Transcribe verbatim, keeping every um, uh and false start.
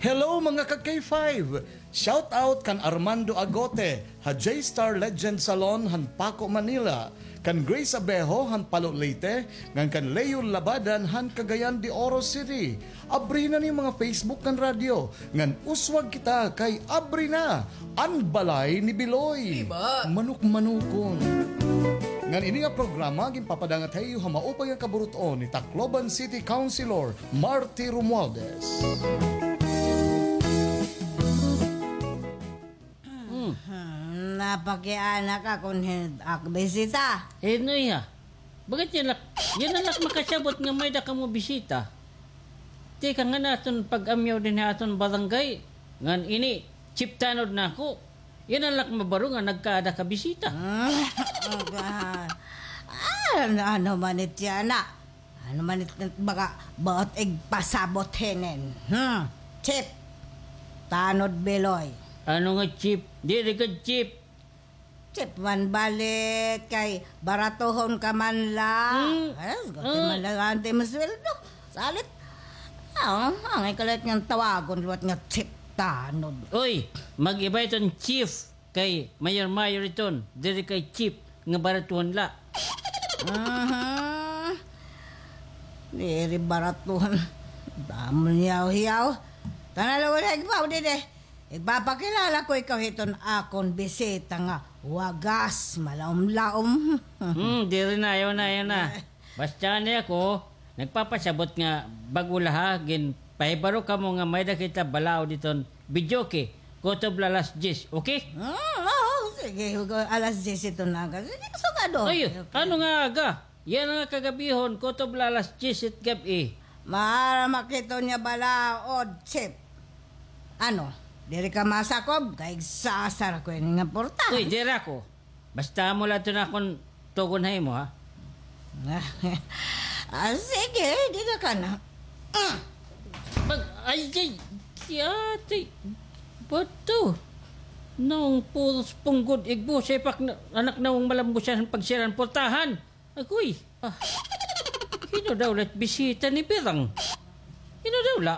Hello, mga ka-K five! Shout out kan Armando Agote, ha J-Star Legend Salon, han Paco, Manila, kan Grace Abejo, han Palo, Leyte, ngan kan Leo Labadan, han Cagayan de Oro City. Abri na an iyo mga Facebook ngan radyo, ngan uswag kita kay abri na an Balay ni Biloy. Diba? Manukmanukon. Ngan ini nga programa ginpapadangat ha iyo ha maupay nga kaburut-on ni Tacloban City Councilor Marty Romualdez. Hmm. Hmm, napakiana ka kon hin-, ak bisita. Eh, no, iya. Bakit yana la, yana la makasabot nga may-ada kamo bisita? Tikang han aton pag-amyaw dinhi ha aton barangay, ngan ini, chief tanod nako. Yana la mabaro nga nagkaada ka bisita. Hmm, ah, ano, ano man it yana? Ano man it, baga, buot igpasabot hinin? Hmm, chief tanod Biloy. Ano nga chief? Diri ka chief. Chief man balik kay baratuhon ka man la. Hmm. Ay, gusto man la, ante mo sweldo. Salit. Ah, angay ka la nga tawagon liwat nga chief tanod. Uy, mag-iba iton chief kay mayor-mayor iton, diri kay chief nga baratuhon la. Aha. Diri baratuhon. Damo hiyaw-hiyaw. Tana la, wala igbaw didi. Igpapakilala ko ikaw hiton akon bisita nga wagas, malaom-laom. Hmm, diri na, ayaw na, ayaw na. Basta ni ako, nagpapasabot nga bag-o la ha, ginpahibaro kamo nga may-ada kita balaod hiton videoke, kutob la alas diyes, okay? Hmm, oo, sige, alas diyes ito na aga. Sige, sugad, oh. Ay, okay. Ano nga aga? Yana nga kagabihon, kutob la alas diyes it gab-i. Maaram ak hiton iya balaod, chief. Ano, diri ka masakob? Kay igsasara ko ini nga portahan. Uy, diri ako. Basta amo la ito an akon tugon ha imo, ha? Ah, sige, dida ka na. Mm. Pag, ay, ay, ay, ate, bato. Naong puros punggod, igbo, sipak na, anak naong malambusan han pagsira han portahan. Agoy, ah. Hin-o daw la it bisita ni Birang? Hin-o daw la?